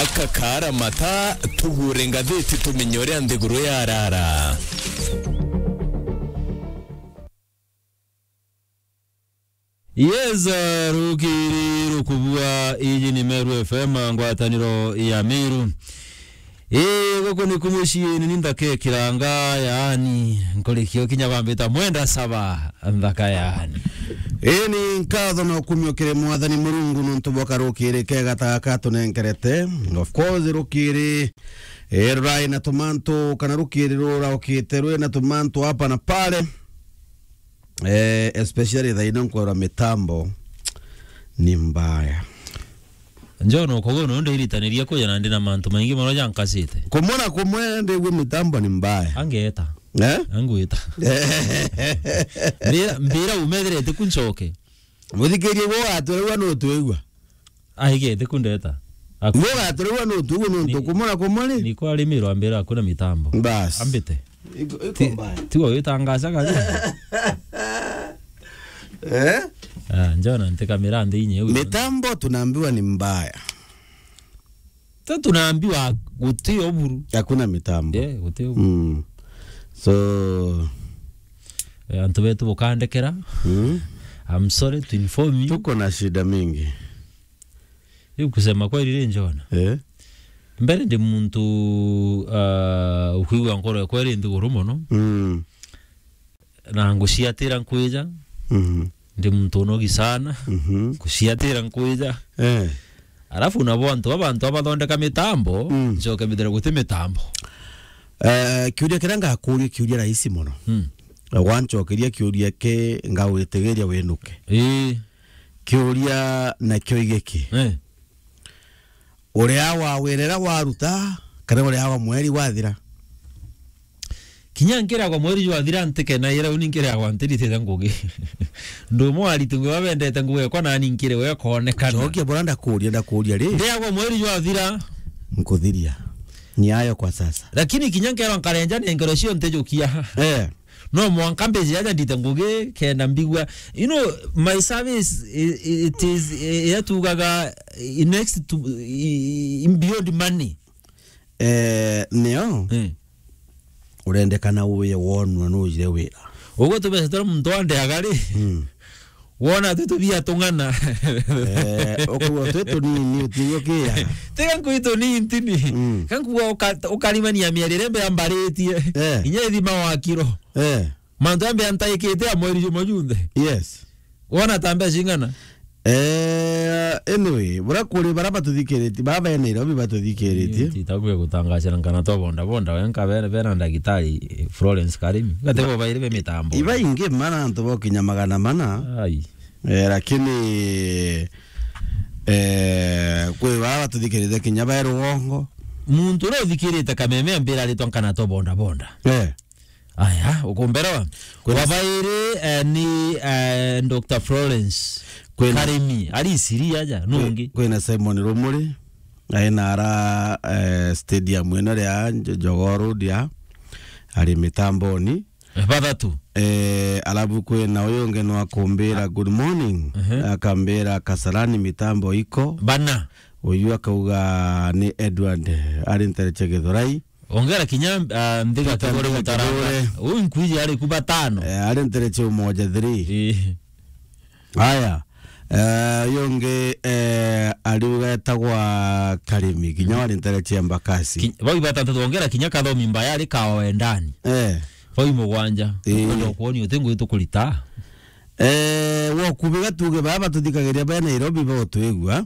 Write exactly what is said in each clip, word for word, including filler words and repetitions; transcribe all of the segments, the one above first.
Aka kaara mata, tugure ngathiti tumenye uria nthiguru yarara. Yes, eh, rukiri rukubua, iji ni Meru F M, ngwataniro ya Meru. Ii, guku ni kumuciini, ni nthaka ikiranga, yaani, nkurikio kinya bambita mwenda saba, nthaka yaani. Ii, ni nkatho na ukumio kiri Mwathani Murungu nuntu bwa karukiri kega ta gaka atunenkerete. Of course, rukiri, eh, rurai na tumantu, kana rukiri ruraukite rwi na tumantu hapa na pale. Eh, especially thaino nkwirwa mitambo ni mbaya. Njono, koguo no ndiritaniria kuja na ndi na mantu maingi mono jankasite. Kumwe na kumwe ndigua mitambo ni mbaya. Angeeta. Eh? Angwita. Mbira, mbira umethirete ku ncoke. Muthikirie gwo gatwirwa no twigua. Aigete kundeta. Aku- Mugaturwa no tugu no Ni- tukumura kumuri. Niko arimi rwambira akuna mitambo. Bas. Ambite. Iko, iko Ti- mbaya. Tiwa witangaza kazi. Eh? Ah, njona ntika mirandi inye uyu. Mitambo tunaambiwa ni mbaya. Ta tunaambiwa guti oburu. Hakuna mitambo. Yeah, guti oburu. Mm. So, Eh, antu betu bukandekera. Mm. I'm sorry to inform you. Tuko na shida mingi. Riu kusema kweli ri njona. Eh? Mbere ndi muntu, ah, ukwigua nkoro yakwa iri nthiguru mono. Mm. Na nguciatira nkwija. Mhm. Ndi muntu unogi sana. Mhm. Nguciatira nkwija. Eh. Alafu nabo antu baba, antu abathondeka mitambo, Mm. ncoke mbithire guti mitambo. Eh, kiuria kiria ngakuria, kiuria rahisi mono. Mm. Wancokeria kiuria ki, ngawitigiria winuke. Ii. Kiuria nakio igiki. Eh. Uria wa wira uria waruta, kana uria wa mweri wathira? Kinya nkiragwa mweri jwathira ntikenaira, uni nkiragwa ntiritite ngugi. Ndu umwe wa aritu ngugi babendete ngugi ekwa nani nkiri we koonekana. Njokia bora ndakuria, ndakuria ri? Ndiragwa mweri jwathira. Nkuthiria. Ni ayo kwa sasa. Lakini kinya nkerwa nkarenja nengero cio ntijukia. Eh. No mwanka mbeje aja ndite ngugi kenda mbigua. You know, my service, i-, i-, it is, i-, ira tugaga, i-, next to, i-, i-, beyond money. Eh, nio? Eh. Urendekana uye wonwa nujire wira. Uguo tubeca turia muntu andeaga ri? Mm. Wona twi tubia tung'ana. Eh, ukaigua twi tunini, utiukia. Tiga nkui tunini ntini. Mm. Ka nkuga uka-, ukarimania mieri iria mbere mbaritie. Eh. Inya ithima wa kiro. Eh. Mantu ya mbere ntaikite ya mweri jumwe junthe. Yes. Wona ta mbeca cing'ana? Eh, anyway, bura kuri bara batuthikiritie, bara be Nairobi batuthikiritie. Titakuya gutangacira nkana to bonda bonda, wenka bere, bere na ndagitari, eh, Florence Karimi. Gate bo bairi be mitambo. Iba ingi mana antu bokinya magana mana. Ai. Eh, lakini, eh, kwi bara batuthikiritie kinya be Rugongo. Muntu uria uthikirite Kameme ambira aritwa nkana to bonda bonda. Eh. Aya, ukumberawa. Kwina Wa bairi, eh, ni, eh, Doctor Florence Kwina Karimi, ari Isiri aja, nungi. Kwina Simon Rumuri, aina ara, eh, stadium ino ria Njo-, Jogoo Road ya, ari mitamboni. Eh, bathatu. Eh, alafu kwina uyu ungi nwa kumbira good morning, Ehe. Akambira Kasarani mitambo iko. Bana. Uyu akauga ni Edward, ari ntereche Githurai. Ongera kinya, ah, Nthiga Peter Kigore Nthiga Gutaranga. Kigore. Uyu nkwiji ari ku batano. Eh, ari ntereche Umoja three. Eh. Aya. Eh, uyu ungi, eh, ariuga etagwa Karimi, kinya wari ntereche Embakasi. Ki-, bau batantatu ongera kinya Kathomi Mbaya ari kaoe ndani. Eh. Bau mugwanja. Eh. Tukwenda kuonia uti ngugi tukurita. Eh, wokubiga tuge baba batuthikagiria be Nairobi botwigua.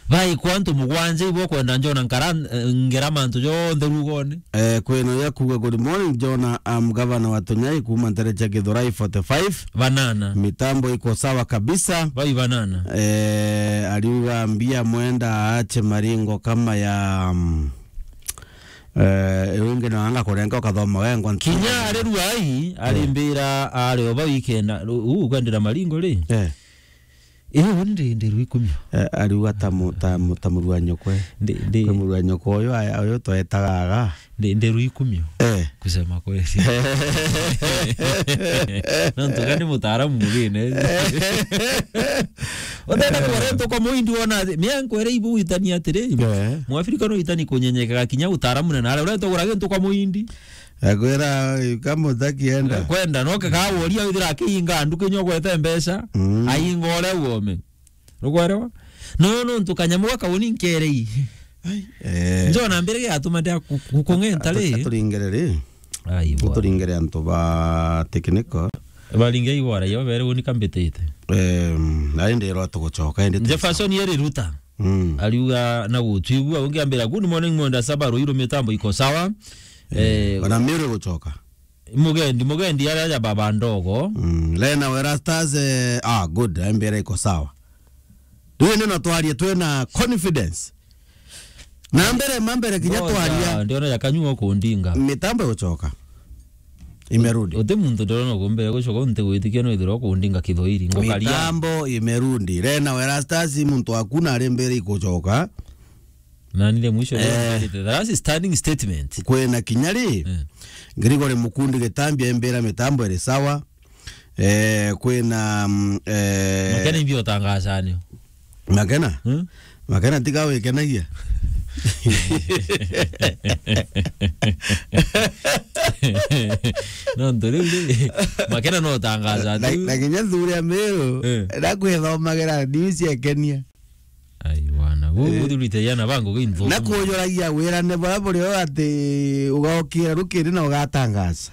Baikwa antu mugwanja ibo kwenda njona nkara, eh, ngera mantu jonthe rugone. Eh, kwina uyu akuga, "Good morning, Jona. I'm Governor wa Tunyai kuma ntere cia Githurai forty-five. Banana. Mitambo iko sawa kabisa." Bai banana. Eh, ariuga mbia mwenda aache maringo kama ya, mm, eh, wingi na anga kurenga ukathoma wengwa. Kinya ari Ruai, ari Eh. mbira, ari oba weekend, u-, u-, kwendera maringo ri? Eh. Eh, uni ndi, ndi Ruikumio. Eh, ariuga ta mu-, ta mu-, ta muru wa nyokwe. Ndi, ndi Kwi muru wa nyokwe uyu, aya, uyu twetaga aga. Ndi, ndi Ruikumio. Eh. Kusema kweli. No ntuga ni mutaaramu mugine. Utenda kwore ntuko muindi wona, mia nkwere ibu witani atiri. Eh. Mwafrika no itani kunyenyekaga kinya utaaramu na nare. Uretwa gurage ntuko muindi. Akwira, "Kama utaki enda." Kwenda, no kega woria withira akiinga nduki nyogwete mbeca, Mm. ainga uria uome. Rugwerewa? No, no, ntu kanyamu gaka uni nkerei. Ai, eh. Njona mbere giatuma ndia ku-, ku-, kung'enta Atu-, ri? Aturingere ri? Ai, bwana. Aturingere antu ba technical. Baringe igwara, iyo bere uni kambitite. Em, na indi ro tugucoka, indi tu- Jefferson yeri ruta. Mm. Ariuga na gutwigua, ungi ambira, "Good morning, Mwenda Saba, Ruiru mitambo iko sawa." Eh, bana Mary gucoka. Mugendi, Mugendi aria ya baba ndogo. Mm, Lena Werastas, eh, ah, good, ambira iko sawa. Riu ni no twarie twina confidence. Na mbere, ma mbere kinya Ngoja, twaria. Ndiona ya kanyua kundinga. Mitambo igucoka. Imerudi. Uti muntu ndirona kumbere gucoka, unti gwitikia no ithirwa kundinga Kithoiri, ngokaria. Mitambo imerudi. Lena Werastas, muntu waku na ari mbere igucoka. Na nile mwisho Eh. That's a standing statement. Kwina kinya ri? Eh. Gregory Mukundi Gitambi aimbira mitambo iri sawa. Eh, kwina, mm, eh, Makena imbi utangacanio. Makena? Hmm? Makena tiga wikenagia. No, ntu riu ri, Makena no utangaca Na, tu. Na kinya thuri ya Meru, Eh. na kwithomagira news ya Kenya. Ai, bwana. Gu-, Eh. guthurite yana bangu ginthu. Na kujoragia wirane bara buri o ati ugaukira rukiri na ugatangaza.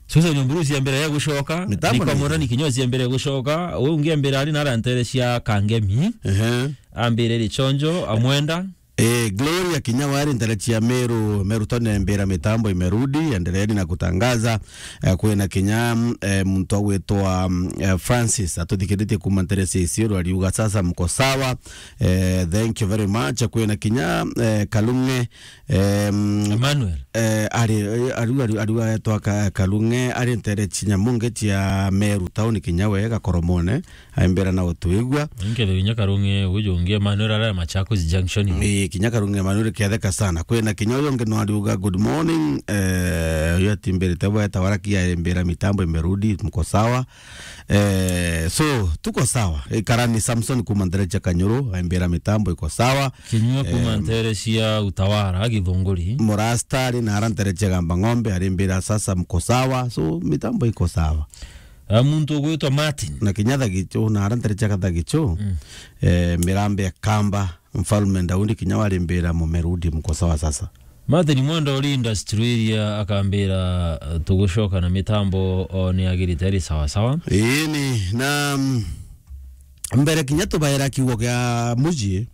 Susan Nyamburu cia mbere ya gucoka, Mitambo Nick ni Murani kinya cia mbere ya gucoka, we ungi mbere ari na arantere cia Kangemi. Ehe. Ambire Richonjo, Amwenda. Eh, Gloria kinya wari ntere cia Meru, Meru tone mbira mitambo imerudi, endeleeni na kutangaza. Eh, kwina kinya, mm, eh, muntu agwitwa, mm, eh, Francis, atuthikiritie kuma ntere cia Isiolo, ariuga, "Sasa mko sawa." Eh, thank you very much. Kwina kinya, eh, Kalunge, Em, Emmanuel. Eh, ari, eh, ariu, ariu, ariu aetwa Ka-, Kalunge, ari ntere cia Nyamunge cia Meru town kinya we Gakoromone, aimbira na utwigua. Nkethirwa kinya Kalunge uju ungi Emmanuel ara Machakos Junction. Ii, kinya Kalunge Emmanuel ketheka sana. Kwina kinya uyu ungi no ariuga, "Good morning." Eh, uyu atimbirite bweta waraki aimbira mitambo imerudi, mko sawa. Eh, so, tuko sawa. Ikarani Samson kuma ntere cia Kanyuru, aimbira mitambo iko sawa. Kinyua kuma Em, ntere cia Utawara, Githunguri. Murasta ari na ara ntere cia Gamba Ng'ombe, arimbira sasa mko sawa. So, mitambo iko sawa. Ah, muntu ugwitwa Martin. Na kinya Thagichu, na ara ntere cia Gathagichu. Mm. Eh, Mirambe ya Kamba, Mfalme Daudi kinya warimbira mumerudi mko sawa sasa. Martin Mwenda uri industry iria akambira, eh, tugucoka na mitambo, o, ni agirite ari sawa sawa. Ii ni, na, mm, mbere kinya tubaira kiugo kia muji,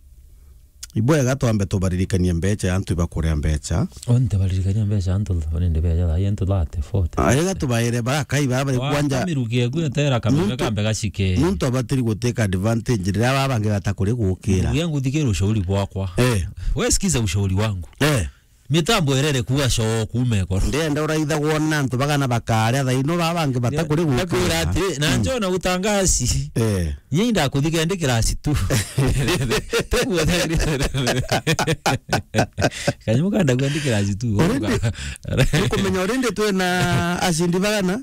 ibwega twambe tubaririkanie mbecha ya antu ibakuria mbecha. O, ntibaririkania mbecha antu, nindi beja thaa ii antu thirty, forty. Ah, ega tubaire bara kai bara bari Wa kwanja. Kamirukie kwe tera kambe Muntu, kambe gacike. Muntu abatiri guteka advantage riria baba bangi bata kuri gukira. Ndugu yangu, thikira ushauri bwakwa. Eh. We sikiza ushauri wangu. Eh. Mitambo irere kuga coo kuuma ekoro. Ndienda uraithagwo na antu bagana bakaria thaino baba bangi bata kuri gukira. Ndakwira atiri, na Mm. njona utangaci. Eh. Nyie indakuthika ndi kirasi tu. Tuguo thagri. Kanyamu kanda gwa ndi kirasi tu. Already, ukumenya already twina acindi bagana?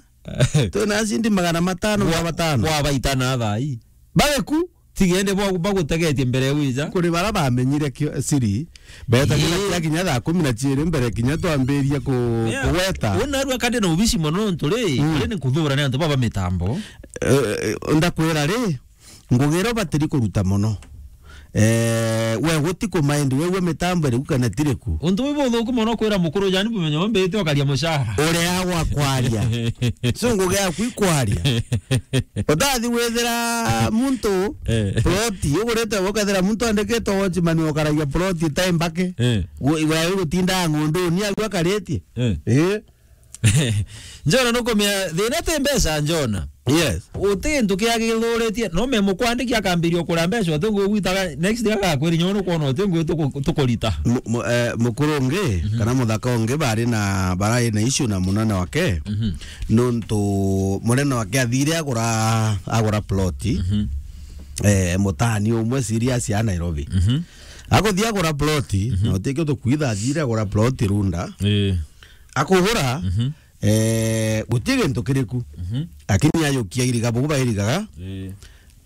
Twina acindi magana matano ma batano. Kwa baitana thaa ii. Bageku. Tigende bwa-, bagutegetie mbere wija. Kuri bara bamenyire kio-, siri, beta kinya Ii. kia kinya thaa kumi na ciiri mbere kinya twambirie ku-, Yeah. kugweta. Una rua kande na ubici mono ntu ri, Mm. ri ni kuthura ni antu baba mitambo. Eh, eh, ndakwira ri, ngugi iria ubatiri kuruta mono. Eh, we guti kumaindi, we, we mitambo iriku kana tiriku. Untu bwi buthuku mono kwira mukuru jani bumenyo mbite ukaria mucara. Uria gwa kwaria. So ngugi yaku ikwaria. Utathi withira muntu Eh. ploti, ugurite ukethira muntu andikite watchman ukaragia ploti time mbake. Eh. Gu-, we gutinda ng'ondu ni agu akaritie. Eh. Eh. Njona nukumia thina ti mbeca njona. Yes. Uti gintu kia githuritie, no me mukwandikia akambiria ukura mbeca, uti ngui gwitaga, next day agakwira nyo nukwona uti ngui tuku-, tukurita. Mu-, mu-, eh, mukuru ungi, Mhm. kana muthaka ungi bari na, barai na issue na munene wake. Mhm. Nuntu munene wake athire agura, agura ploti. Mhm. eh, mutani umwe serious ya Nairobi. Mhm. Akuthia agura plot, Mhm. na utikio tukwitha athire agura plot Runda. Eh. Akugura, Mhm. eh, guti gintu kiriku. Mhm. Lakini ayukia iriga bugu bairigaga. Eh.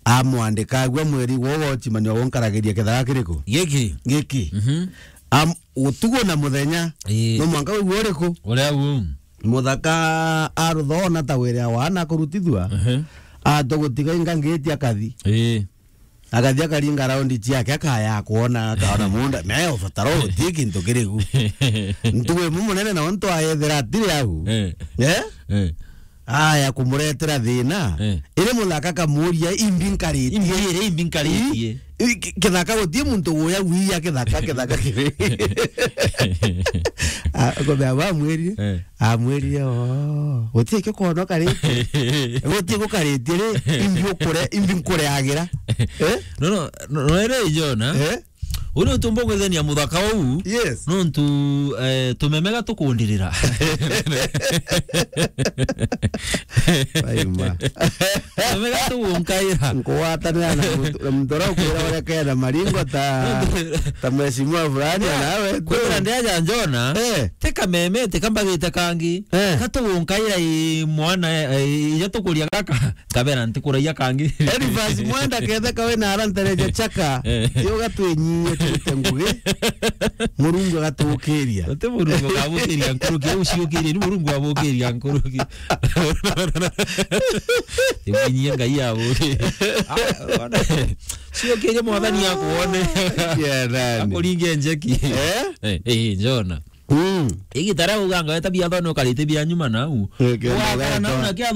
Amwandika agua mweri gwo gochimania gunkaragiria kithaka kiriku? Giki. Giki. Mhm. Am-, utugo na muthenya. Ii. No mwanka wigua uriku? Uria u. Muthaka aruthona ta wira wana kurutithua. Ehe. Ato gutiga inga ngiti akathi. Ii. Akathi akaringa raundi ciake, akaya kuona, akaona munda. Naye ubataro uti kintu kiriku. Ntugu imwe munene na untu ayethera atiri au. Eh. Eh? Eh. Aya kumuretera thina. Eh. Iri muthaka kamuria imbi nkaritie. Imbi iri imbi nkaritie. I-, i-, ki-, kithaka guti muntu guya wiya kithaka, kithaka kiri. A, kumbe aba amwirire. Eh. Amwirire, "Oh, guti kio kono karitie. Guti gukaritie ri, imbi ukure, imbi nkureagira." Eh? No, no, no, no, ere Jona. Eh? Uu ni untu mbugwithania muthaka uu. Yes. Nontu, eh, tumeme gatukundirira. Aima. Tumeme gatugunkaira. Nkugwatanira na muntu, na muntu uria ukwira uria kena maringo ta, ta mheshimiwa fulani, nawe tu. Kwira ndiaja Jona, Eh. ti kameme, ti kambagite kangi. Eh. Gatugunkaira i mwana, eh, ija tukuria gaka. Kabera ntikuragia kangi. Elifas Mwenda ketheka we na arantereja chaka. Eh. Yo gatwinyie turute ngugi. Murungu agatukiria. Uti Murungu agabukiria nkuruki, au ciukirie ni Murungu abukiria nkuruki. Timunyie Ngai abuki. Ah, ona. Ciukirie mwathani akuone. Yeah, nani? Akuringe njeki. Eh? Eh, eh, Jona. Mm. Igitara uganga weta bia thone ukarite bia nyuma nau. Eh, kenda Ugakara nau weta. na kia